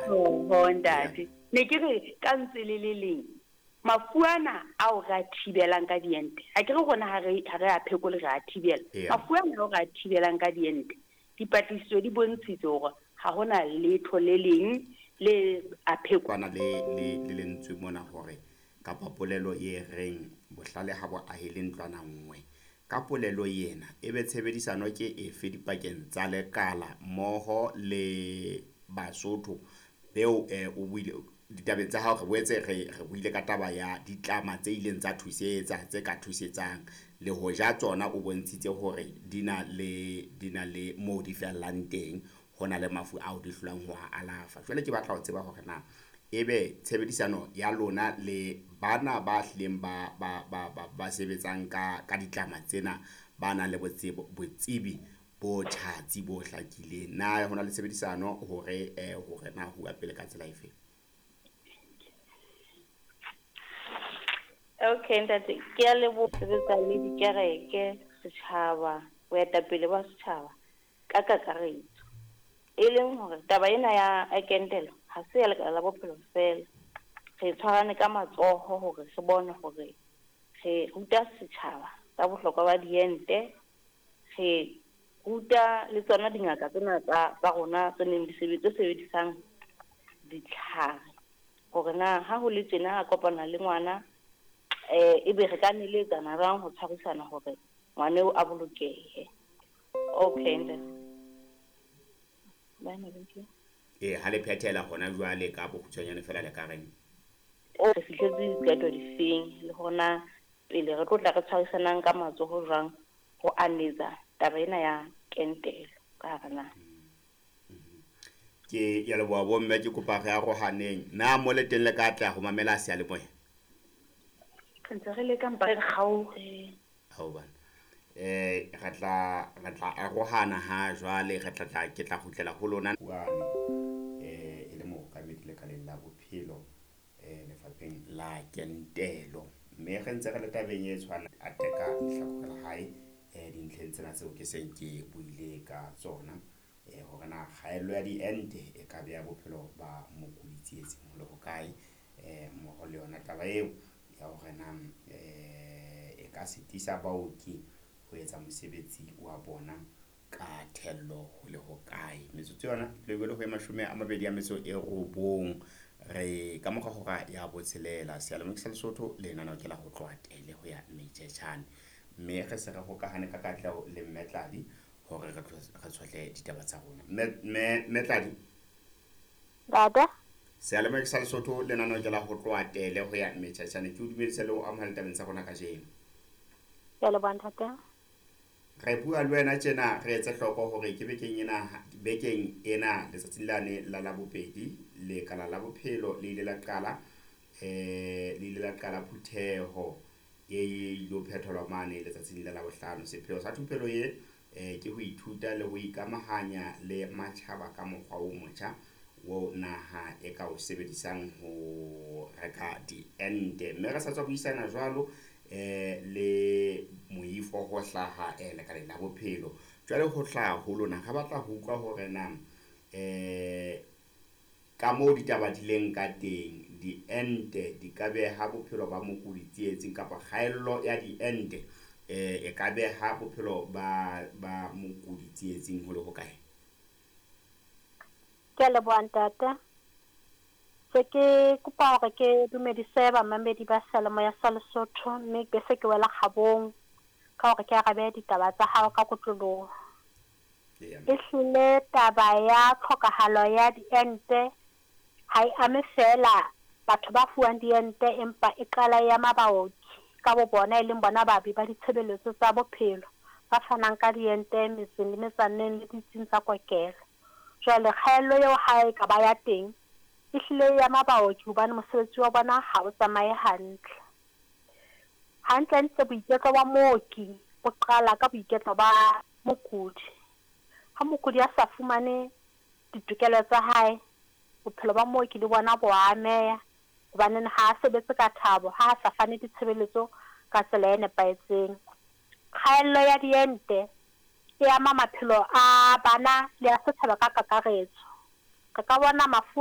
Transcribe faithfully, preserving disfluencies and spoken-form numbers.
Oho ntate, ne ke re ka ntse le le leng mafu ana ao re a thibelang ka diente, ha ke re rona ha re ha re a phekole, re a thibela. Mafu ana ao re a thibelang ka diente, dipatlisiso di bontshitse hore ha hona letho le leng le a pheko. Kwana le le le lentswe mona hore kapa polelo e reng bohlale ha bo ahele ntlwana nngwe. Ka polelo ena ebe tshebedisano ke efe dipakeng tsa lekala mmoho le Basotho beo eh, o buile ditabeng tsa hao, re boetse re re buile ka taba ya ditlama tse ileng tsa thusetsa tse ka thusetsang le hoja tsona o bontshitse hore di na le di na le moo di fellang teng, ho na le mafu ao di hlolang ho a alafa. Jwale ke batla ho tseba hore na ebe tshebedisano ya lona le bana ba hlileng ba ba ba ba, ba sebetsang ka ka ditlama tsena, ba nang le botsebo botsebi bo tjhatsi bo hlakileng, na ho na le tshebedisano hore eh hore na ho pele ka tsela efe? Okay ntate, ke a leboha. Sebetsa le dikereke, setjhaba, boetapele ba setjhaba ka kakaretso. E leng hore taba ena ya kentelo ha se ya lekala la bophelo fela. Re tshwarane ka matsoho hore re bone hore re ruta setjhaba ka bohlokwa ba diente, re ruta le tsona dingaka tsena tsa tsa rona tse neng di sebetse sebedisang ditlhare hore na ha ho le tjena a kopana le ngwana eh ebe re ka neletsana jwang ho tshwarisana hore ngwana eo a bolokehe. Okay ntate. Bana thank you. Eh ha le phethela hona jwale ka bokgutshwanyane fela le ka reng? O re fihletse diqeto difeng le hona pele re tlo tla re tshwarisanang ka matsoho jwang ho anetsa taba ena ya kentelo ka hara naha. Ke ya leboha bomme, ke kopa re arohaneng. Na mo le teng le ka tla ho mamela seyalemoya? Re ntse re leka mpa re kgaohe. Hao bana. Eh re tla re tla arohana ha jwale, re tla tla ke tla kgutlela ho lona. Wane eh e le mookamedi lekaleng la bophelo eh lefapheng la kentelo. Mme re ntse re le tabeng e tshwana a teka lehlakore la hae eh dintlheng tsena tseo ke seng ke buile ka tsona, eh hore na kgaello ya diente e ka beha bophelo ba mokudi tsietsing ho le hokae, eh mmoho le yona taba eo ya hore na eh e ka sitisa baoki ho etsa mosebetsi wa bona ka thello ho le hokae. Metsotso yona lebelo ho e mashome a mabedi a metso e robong, re ka mora hora ya botshelela. Seyalemoya sa Lesotho lenaneo ke la ho tloha tele ho ya Mejejane, mme re se re hokahane ka katleho le Mme Tladi hore re re tshohle ditaba tsa rona. Mme Mme Mme Tladi. Ntate. Seyalemoya sa Lesotho lenaneo ke la ho tloha tele ho ya Mejejane. Ke o dumedise le ho amohela tabeng tsa rona kajeno. Ke a leboha ntate. Re bua le wena tjena re etse hloko hore ke bekeng ena bekeng ena letsatsing lane la Labobedi lekala la bophelo le ile la qala eh le ile la qala phutheho e ilo phethelwa mane letsatsing la Labohlano. Sepheo sa thupelo ye eh ke ho ithuta le ho ikamahanya le matjhaba ka mokgwa o motjha wo naha e ka o sebedisang ho reka diente. Mme re sa tswa buisana jwalo eh le moifo ho hlaha eh lekaleng la bophelo. Jwale ho hlaha ho lona re batla ho utlwa hore na eh ka moo ditaba di leng ka teng, diente di ka beha bophelo ba mokudi tsietsing kapa kgaello ya diente eh e ka beha bophelo ba ba mokudi tsietsing ho le hokae? Ke a leboha ntate. Se ke kopa hore ke dumedise bamamedi ba seyalemoya sa Lesotho, mme be se ke wela kgabong ka hore ke arabe ditaba tsa hao ka kotloloho. Ehlile taba ya tlhokahalo ya diente ha e ame feela batho ba fuwang diente, empa e qala e ama baoki ka bo bona, e leng bona baabi ba ditshebeletso tsa bophelo ba fanang ka diente metseng le metsaneng le ditsing tsa kokelo. Jwale kgaello eo ha e ka ba ya teng, ehlile e ama baoki hobane mosebetsi wa bona ha o tsamaye hantle. Hantlentle boiketlo ba mooki bo qala ka boiketlo ba mokudi. Ha mokudi a sa fumane ditokelo tsa hae, bophelo ba mooki le bona bo ameha hobane ha a sebetse ka thabo, ha a sa fane ditshebeletso ka tsela e nepahetseng. Kgaello ya diente e ama maphelo a bana le a setjhaba ka kakaretso. Re ka bona mafu